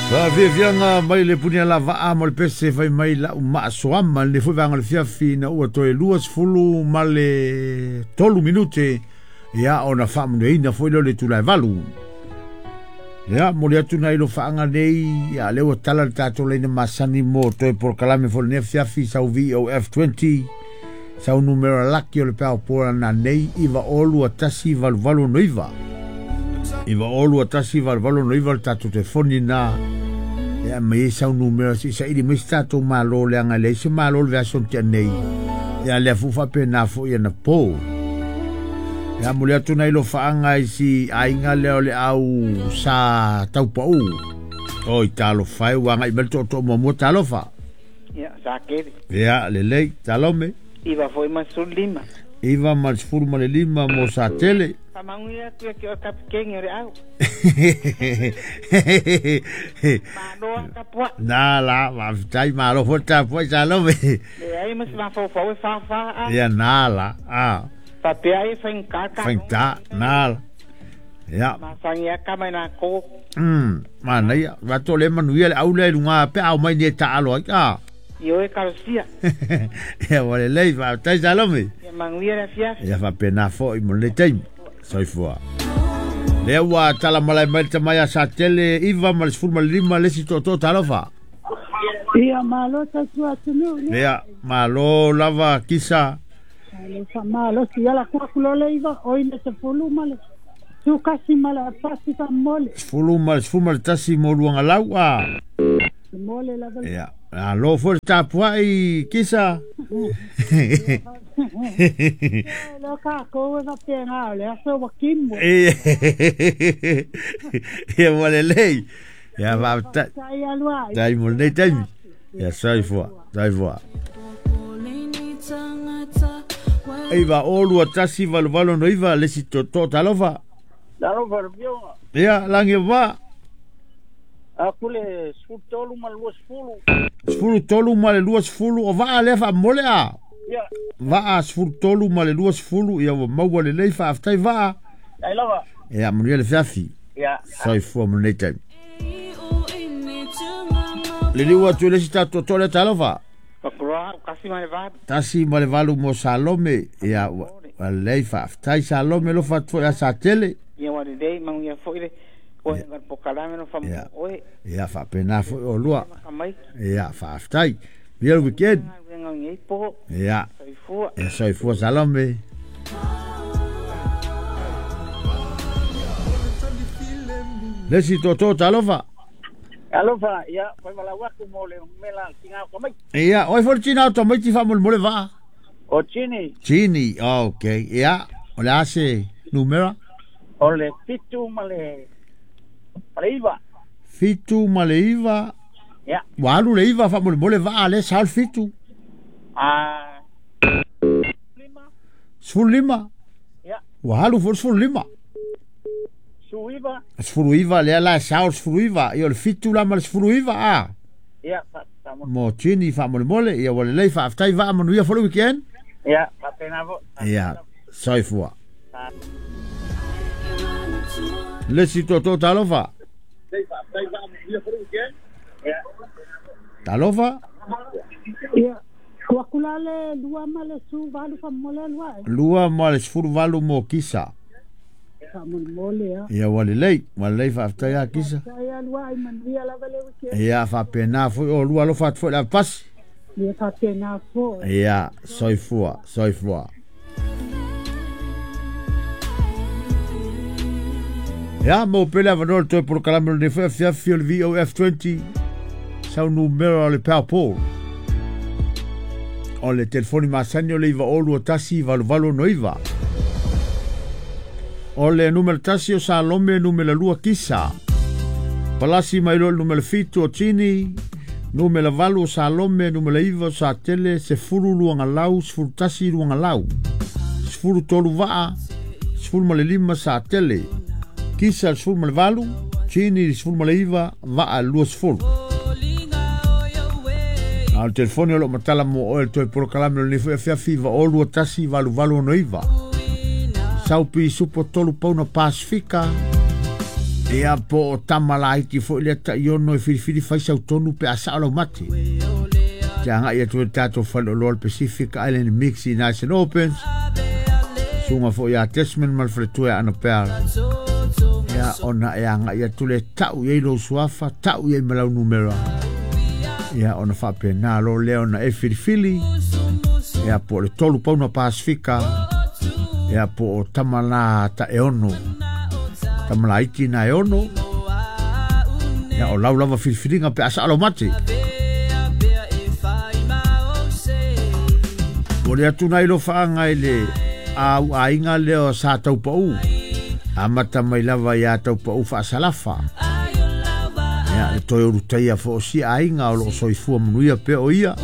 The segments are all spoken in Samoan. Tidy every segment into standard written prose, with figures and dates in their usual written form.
Faafiafiaga mai le Punialavaa ma le pese fai mai la'u maasoama lenei foi vaega o le fiafi ina ua toe 23 ma le 3 minute ia ona faamanuiaina foi lea o le itula e 8. Ia momoli atu nai lofaaga nei ia lea ua tala le tatou laina masani mo toe polokalame foi lenei afiafi sau VOF20 sau numera laki o le peao pola nanei 902 1889 902 1889 le tatou telefoni na ia mai ai sau numera se i saili mai se tatou malo leaga e leai se malo le vaiaso na tea nei ia lea foi faapena foi ana po. Ia momoli atu nai lofaaga i si aiga lea o le au sa taupau. Oi talofa e ua agai mai le tootoo muamua talofa. Ia, sa kele. Ia lelei talome. 9 foi ma 15. 9 ma le 15 mo sa tele. Faamanuia atu ia te oe kapiteni o le au. Malo lava tapuai. Na la, faafetai malo foi le tapuai Salome. Leai ma se mafaufau e fafa a. Ia na la, a. Faapea ai e faigata ka. Faigata, na la. Ia. Masani lava tama i latou. Manaia. Vato le manuia le au lea i luga pe a omai nei e taalo ai. A. Ioe talosia. Ia ua lelei, faafetai Salome. Ia manuia le afiafi. Ia faapena foi mo lenei taimi. Soifua. Lea ua tala malae mai le tama ia Satele 9 ma le 15 le isi tootoo talofa. Ia malo tautua atunuu le. Ia malo lava Kisa. Malo faamalosi ia la ku aku loa le iva oi le 10 ma le tukasi ma le apasi faamole. 10 ma le 11 mo Luagalau a. Mole lava. Ia alo foi le tapuai Kisa. Leo kākou e faapena o le aso ua kimo. Ia ua lelei. Ia faafetai. Faafetai alu ai. Tai mo lenei taimi. Ia soifua, soifua. 902 1889 le isi tootoo talofa. Talofa le Afioga. Ia lagi o va. Aku le 13 ma le 20. 13 ma le 20 o vaa lea faamole a. Ia. Vaa 13 ma le 20 ia ua maua lelei faafetai vaa. Ai lava. Ia manuia le fiafi. Ia. Soifua mo lenei taimi. Liliu atu i le isi tatou tootoo lea talofa. Pakuroa 1 ma le 8. 1 ma le 8 mo Salome. Ia ua lelei faafetai Salome alofa atu foi ia Satele. Ia ua lelei manuia foi le oe ga polokalame no faamua oe. Ia faapena foi o lua. Makamai. Ia faafetai. Manuia le weekend. Galuega o lenei po. Ia. Soifua. Ia soifua Salome. Le isi tootoo talofa. Alofa, ia, fai malau aku mo le mela tingau ka mai. Ia, oi foi tina o tamaiti faamolemole vaa. O Chini. Chini, okay. Ia, o le a se numera? O le 7 ma le 9. 7 ma le 9. Ia. Ua alu le 9 faamolemole vaa le sao le 7. A 5. 15. Ia. Ua alu foi le 15. Suiva. 19 lea la e sao le 19. Ia o le 7 la ma le 19 a. Ia, fa Mo Chini faamolemole. Ia ua lelei faafetai vaa manuia foi le weekend. Ia, faapena foi. Ia, soifua. Le isi tootoo talofa. Talofa. Ia ku aku la le 2 ma le 18 faamole alu ai. 2 ma le 18 mo Kisa. Faamolemole a. Ia ua lelei, ua lelei faafetai a Kisa. Faafetai alu ai manuia lava le weekend. Ia faapena foi o lua alofa atu foi le avapasi. Ia faapena foi. Ia soifua, soifua. Ia mo pele avanoa le toe polokalame o lenei foi afiafi o le VOF20 sau numera o le Powerpool. O le telefoni masani o le 902 1889. O le numera 1 o Salome, numera 2 Kisa. Palasi mai loa le numera 7 o Tini, numera 8 o Salome, numera 9 o Satele, 10 Luagalau, 11 Luagalau. 13 Vaa, 15 Satele. Kisa le 18, Tini le 19, Vaa le 20. A o le telefoni o loo matala mo oe le toe polokalame o lenei foi afiafi 902 1889. Saupi supo 3 pauna Pasifika. Ia po o tama laiti foi lea taiono e filifili fai sau tonu pe a sao lau mate. Te agai atu i le tatou faleoloa o le Pacific Island Mix i Nice and Opens. Suga foi ia Desmond ma le faletua ia Annabelle. Ia ona e agai atu lea e tau i ai lou suafa, tau i ai ma lau numera. Ia ona faapena loa lea ona e filifili. Ia po o le 3 pauna Pasifika. Ia po o tama la taeono. Tama laiti na e ono. Ia o lau lava filifiliga pe a sao lau mate. Momoli atu nai lofaaga i le au aiga lea o Sa Taupau. Amata mai lava ia Taupau faasalafa. Ia, le toe ulutaia foi o si aiga o loo soifua manuia pea o ia.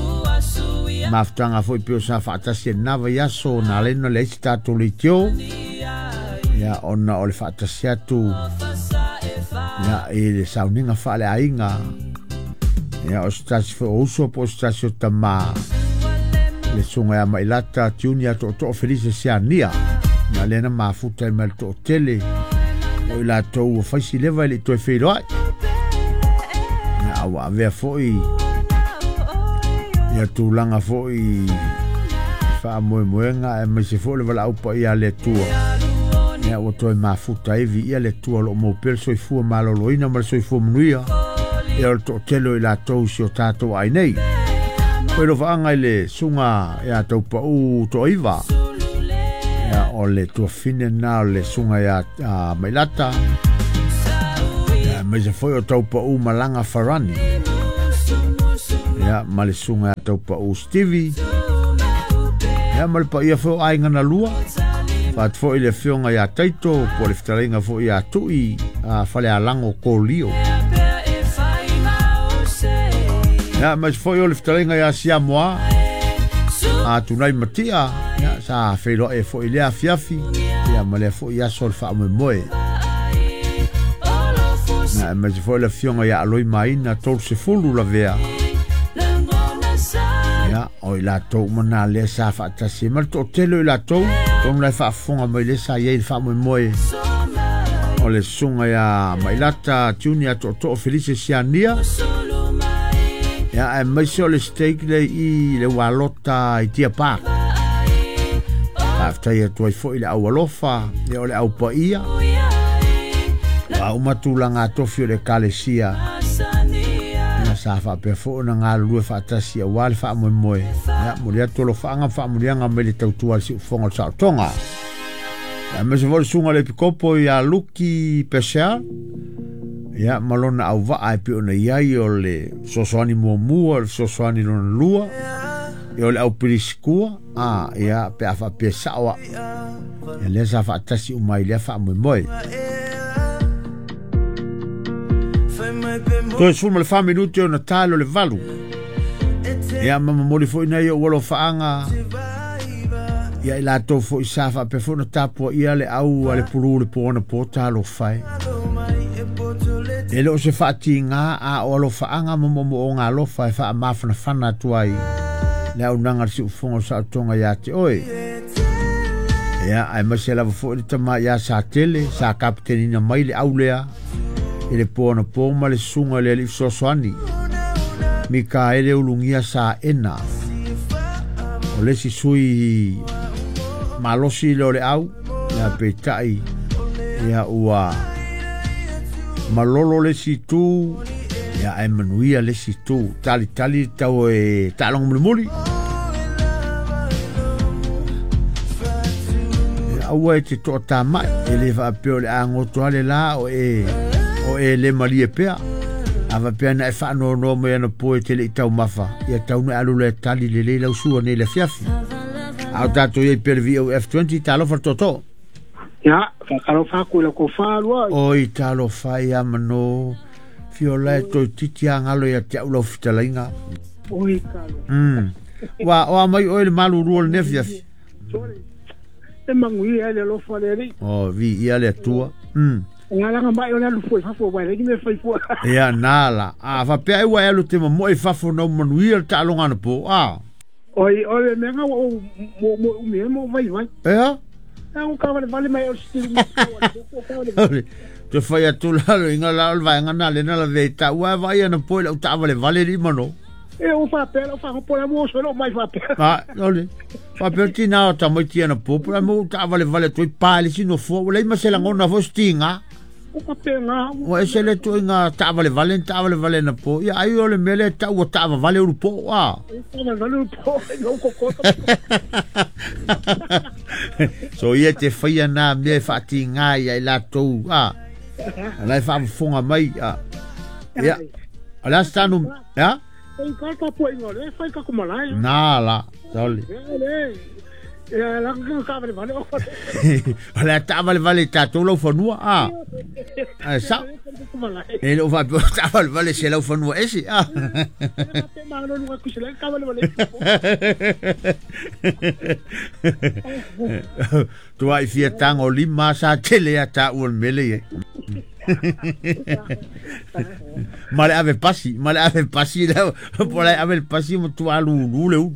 Mafutaga foi peo sa faatasi e lena vaiaso na ala ai ona leai se tatou leitio. Ia, ona o le faatasi atu ia, i le sauniga faaleaiga. Ia, o se tasi foi o uso po o se tasi o tamā. Le susuga ia Mailata Junior Tootoo Felise Siania. Na lea na mafuta ai mai le toatele o i latou ua fai si leva e le i toe feiloai. Ia, a ua avea foi ia tulaga foi i faamoemoega aemaise foi le valaau paia a le Atua. Ia, ua toe mafuta ai viia le Atua o lo o maua pea le soifua maloloina ma le soifua manuia. Ia o le toatele o i latou i si o tatou ai nei. Koe lofaaga i le susuga ia Taupau Toaiva. Ia o le tuafine na o le susuga ia Mailata. Ia aemaise foi o Taupau Malaga Farani. Ia ma le susuga ia Taupau Stevie. Ia ma le paia foi o aiga na lua. Faatu foi le afioga ia Taito po o le fetalaiga foi ia Tui a Falealango Kolio. Ia aemaise foi o le fetalaiga ia Siamoa a Tunai Matia. Ia sa feiloai ai foi i lea afiafi. Ia ma lea foi aso o le faamoemoe. Ia aemaise foi le afioga ia Aloi Maina 30 Lavea. Ia o i latou uma na lea sa faatasi ai ma le toatele o i latou atonu la e faafofoga mai lea sa i ai i le faamoemoe o le susuga ia Mailata Junior Tootoo Felise Siania. Ia aemaise o le stake lea i le Ualota i Deer Park. Faafetai atu ai foi i le au alofa, ia o le au paia. Ua uma tulaga tofi o le Ekalesia. Ia sa faapea foi ona galulue faatasi aua le faamoemoe. Ia momoli atu alofaaga ma faamanuiaga mai le tautua a le siufofoga o le saotoga. Ia aemaise foi le susuga i le Epikopo ia Luki Purcell. Ia ma lona auvaa e pei ona i ai o le fesoasoani muamua, o le fesoasoani lona lua, ia o le au pilisikua, a ia pe a faapea sao au. Ia lea sa faatasi uma ai i lea faamoemoe. Toe 14 minute ona talo le 8. Ia ma momoli foi nai ou alofaaga ia i latou foi sa faapea foi ona tapuaia le au a le pulu le po anapo talofa e. E le o se faatiga a o alofaaga ma moomooga alofa e faamafanafana atu ai le auaunaga a le siufofoga o saotoga ia te oe. Ia, aemaise lava foi le tama ia Satele, sa kapetenina mai le au lea i le po anapo ma le susuga i le alii fesoasoani Mikaele Ulugia Saena. O le isi sui malosi lea o le au, ia peitai, ia ua malolo le isi itu, ia ae manuia le isi itu. Talitali tau e taaloga mulimuli. Ia aua e te toatamai, e le faapea o le a goto lava le la o e le malie pea. A faapea na e faanoanoa mai anapo e te le i taumafa, ia tau na e alu loa e tali lelei lau sua nei i le afiafi. A o tatou i ai pea i le VOF20, talofa le tootoo. Ia, faatalofa atu i lau tofa lua. Oi, talofa ia mano. Fiola e toeitiiti lava galo ia te au lau fetalaiga. Oi, talofa. Ua oa mai oe i le malulu o lenei afiafi. Sorry. E manuia ai le alofa o le Alii. Oh, viia le Atua. Ngalaga mai o le alu fua i fafo, aua e leai ni mea e fai fua. Ia, na la. A faapea ai ua e alu te momoe i fafo na ua manuia le taaloga anapo, a? Oi, o le mea na ua ou moemoe umi ai ma ou vaivai. Ea? Ea, ua tavalevale mai au i le sitilu mai o le koko, tavalevale. Te fai atu la lo inga la o le vaega na le na la ve ta ua vai ana po i lau taavale vale li mano. E o faapea lau fagopo la mo so lo mai faapea. A ole faapea tina o tamaiti ana po po mo taavale vale toi pa le sino fo ua leai ma se lagona foi setiga. O faapea ua ese le tuaiga taavale vale taavale vale na po ia ai o le mea lea tau ua taavavale ulu po a. Vale po lo koko. So ia te faia na mea e faatiga ia i latou a. Ala e faafofoga mai a. Ia. O le asitanu ia? E ka ka po ingo le fai ka kumala. Na la. Saole. Le. E la ka vale vale o. O le taavale vale tatou lau fanua a. Ai sa. E le o faapea taavale vale se lau fanua ese a. Tua i fia tango lima sa tele a ta ua mele ye. Ma le ave pasi, ma le ave pasi la, po le ave pasi mo tua lu lu le u.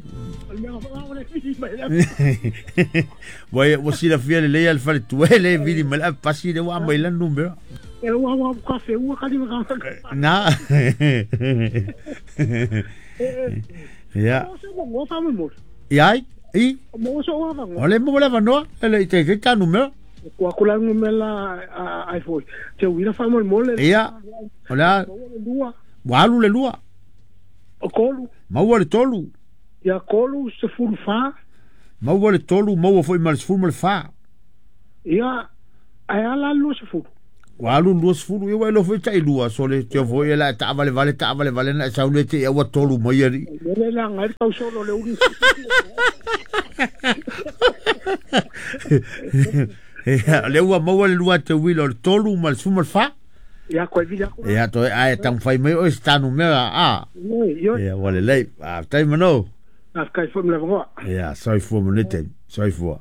Ua ua sila fia le lea le fale tua le vili ma le ave pasi le ua mai lan numera. E ua ua kafe ua kali ma Na. Ia. Ia ai? I? Mo so ua vango. O le mo le vanoa, ele i te te ta numera. Kua kula numera ai foi. Te uira fa mo mole. Ia. O le ua alu le lua. O kolu. Maua le tolu. Ia kolu se fulu fa. Maua le tolu, maua foi ma le sefulu ma le fa. Ia, ai ala lua sefulu. Ua alu lua sefulu, ia ua ilo foi tai lua, so le te foi e la taavale vale, taavale vale, na sau le te ia ua tolu mai ari. Le la ngai tau solo le uli. Le ua maua le lua te wila o le tolu ma le sefulu ma le fa. Ia koe vila ko. Ia toe ai tang fai mai o se tanu mea a. Ia ua lelei, a tai mano. A kai fo mle vongoa. Ia soifua manete, soifua.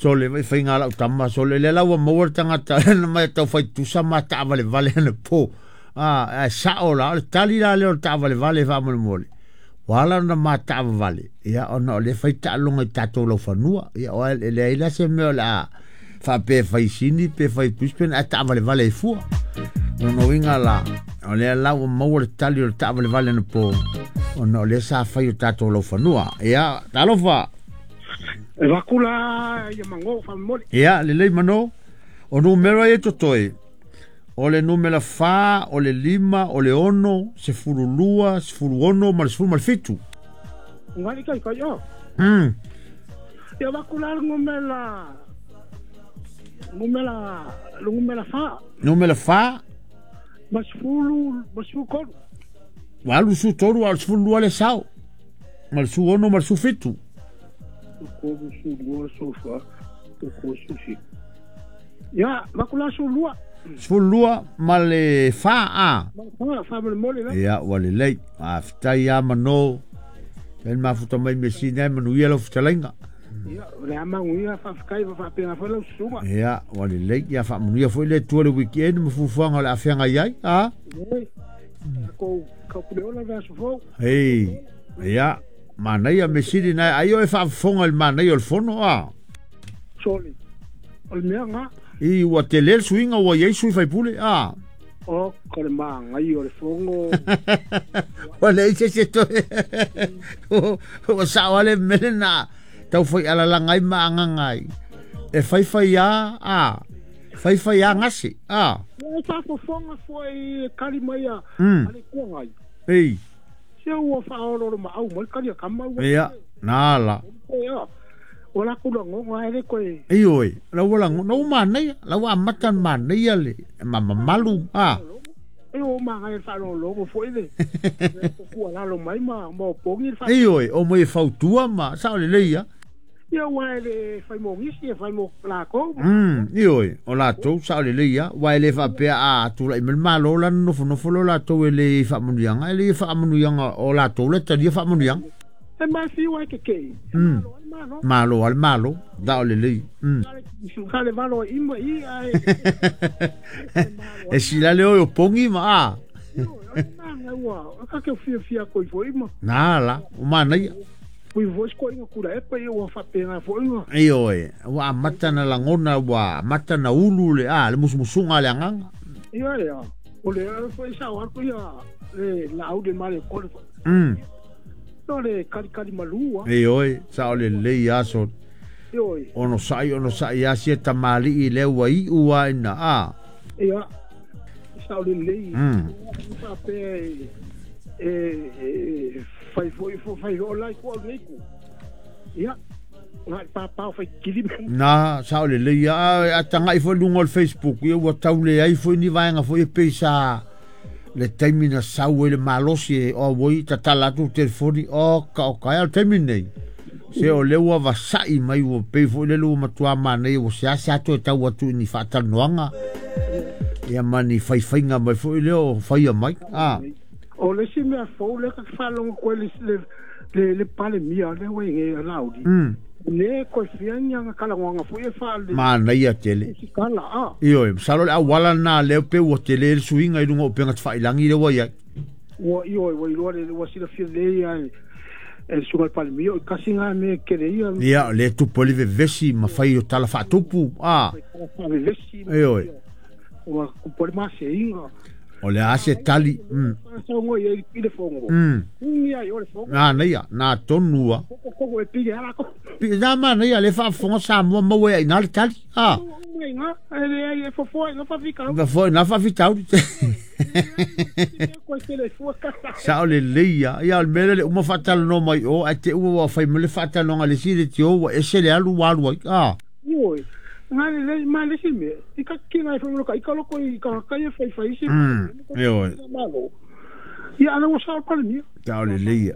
So le vai whainga lau tama, so le le lau maua le tangata, na mai tau whai tusa ma taavale vale ana po. A sao la, o le tali la leo le taavale vale wha mole mole. Wala na ma taavale, ia ona o le whai taalonga i tātou lau whanua. Ia o le aila se mea o le a wha pe whai sini, pe whai puspen, a taavale vale i fua. Ono inga la, o le lau maua le tali o le taavale vale ana po. Ona o le sa whai o tātou lau whanua. Ia, talofa. E vakula ia mango fa mole. Ia, le lei mano. O numero e totoe. O le numera fa, o le lima, o le ono, 12, 16, ma le 17. Ngali kai kai o. Ia vakula numera numera fa. Numera fa. Mas fulu, mas kolu. Walu su toru, al sefulu le sao. Ma le su ono, ma le su fitu. Kolu su lua su fa, ko su si. Ya, vakula su lua. Su lua ma le fa a. Ma fa mole mole la. Ia ua lelei. A fitai a mano. Ten mafuta mai mesina manu ia lau fitalainga. Ia, le amangu ia fa fikai fa pena fa lau suga. Ia, ua lelei ia fa manuia foi le tua le weekend ma fufuanga le afeanga iai, a. Ko ka pule ola va su fo. Ei, ia. Manaia mesiri na ai o e faafofoga i le manaia o le fono a. Soli. O le mea ngā. I ua tele le suiga ua iai sui faipule a. O ko le magai o le fogo. Ua leai se se toe. Ua sao ale mele na tau fai alalaga ai ma agaga ai. E faifai a a. Faifai a gase a. E faafofoga foi kali mai a le kuagai. Ei. Se ua whaororo ma au mai kari a kama ua. Ia, nā la. Ia, o la kura ngonga ele koe. Ei oi, la ua la ngonga, ua māneia, la ua amata māneia le, ma mamalu, a. E o maga e whaororo foi le. Kua lalo mai ma o pongi. Ei oi, o mai e fautua ma, sao le leia. Ia ua ele whai mo ngisi, e whai mo lākou. Ei oi, o lātou, sao le leia, ua ele whapea a tula i malo la nofo lo lātou ele whaamanuianga, ele whaamanuianga o lātou le talia whaamanuianga. E mai whiu ai ke kei. Malo, malo, al malo, da o le lei. Ka le malo ima i ai. E sila le o pongi ma a. Manga ua, ka ke fia fia koi fo ima. Nā la, o manaia. Pui voice ko inga kura epa ia ua whapenga fo inga. Ei oe, ua amata na langona, ua amata na ulu le, a, le musumusunga le anganga. Ia ia. O le foi sa o atu ia le lau le male ko. No le kali kali malua. E oi, sa o le lei aso. Oi. Ono sai asia tamali i le ua i ua ina a. Ia. Sa o le lei. Sa pe e fai foi fai o lai ko nei ku. Ia. Ngai papa fai kili. Na sa o le lei a tanga i foi lunga o le Facebook ia ua taule ai foi ni vaenga foi e peisa le taimi na sau e le malosi e o woi tatala atu telefoni o ka o ka al taimi nei. Se o le ua vasai mai ua pei foi le lua matua manei ua se ase atu e tau atu ni whaatalanoanga. Ia mani whaiwhainga mai foi leo whaia mai. Ah. O le si mea fou le ka whalonga koe le pale mia le wei nge laudi. Le koe fia nyanga kalangwanga foi e whaale. Manaia tele. Kala a. Io, salo le awala nā leo pe ua tele le suinga i lunga o penga te whailangi le wai ai. Ua io, ua iloa le ua sila fia le ia e sunga le pale mia, o kasi ngā me kere ia. Ia, le tupu le vevesi ma whai o tala whaatupu. Ah. Vevesi. Io. Ua kupole mase inga. O le ase tali. Songo ia i le fongo. Ia i o le fongo. Nā neia, nā tonua. Koko e pige ala ko. Nā ma neia, le whaafonga sa mua maua i nā le tali. Ah. Ngā, e le ai e fofoa i ngā whawhikau. Fofoa i ngā whawhikau. Sa o le leia. Ia o le mele le uma whaatalano mai o, a te ua whai mele whaatalanoanga le si le tio, wa ese le alu walu ai. Ah. Ioi. Ngā le ma le si me. I ka kinga i whamuro i ka loko i ka kai e whai whai si. Ioi. Ia ana wa sa o pale mia. Ta o le leia.